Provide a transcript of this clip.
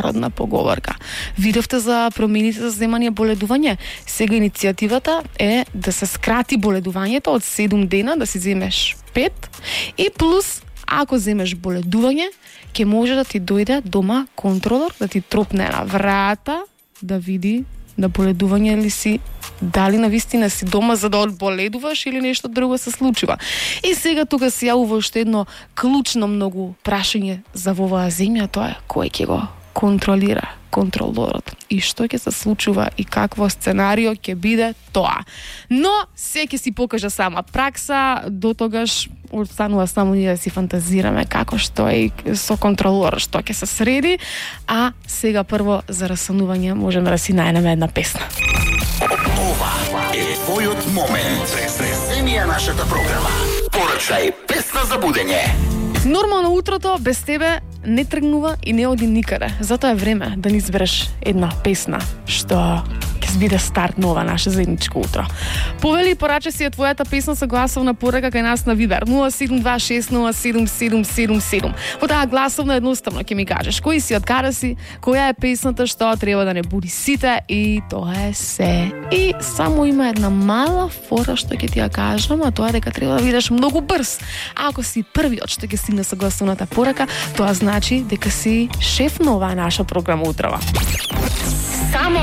народна поговорка. Видовте за промените за земање боледување. Сега иницијативата е да се скрати боледувањето од 7 дена, да си земеш 5 и плюс ако земеш боледување, ќе може да ти дојде дома контролор, да ти тропне на врата, да види на боледување ли си, дали навистина си дома за да одболедуваш или нешто друго се случува. И сега тука се јавува уште едно клучно многу прашање за во оваа земја, тоа е кој ќе го контролира контролорот и што ќе се случува и какво сценарио ќе биде тоа. Но се ќе си покажа сама пракса, до тогаш останува само ние да си фантазираме како што е со контролор, што ќе се среди, а сега прво за расанување можеме да си најдеме една песна. Ова е твојот момент. Преземија нашата програма. Порачај песна за будење. Нормално утрото без тебе не тргнува и не оди никаде. Затоа е време да ни избереш една песна што ќе биде старт на ова наше заедничко утро. Повели и порача си ја твојата песна со гласовна порака кај нас на Вибер 072607777. Во таа гласовна едноставно ќе ми кажеш кој си, од каде си, која е песната што треба да не буди сите и тоа е се. И само има една мала фора што ќе ти ја кажам, а тоа е дека треба да бидеш многу брз. А ако си првиот што ќе стигне со гласовната порака, тоа значи дека си шеф на оваа наша програма утрава. Само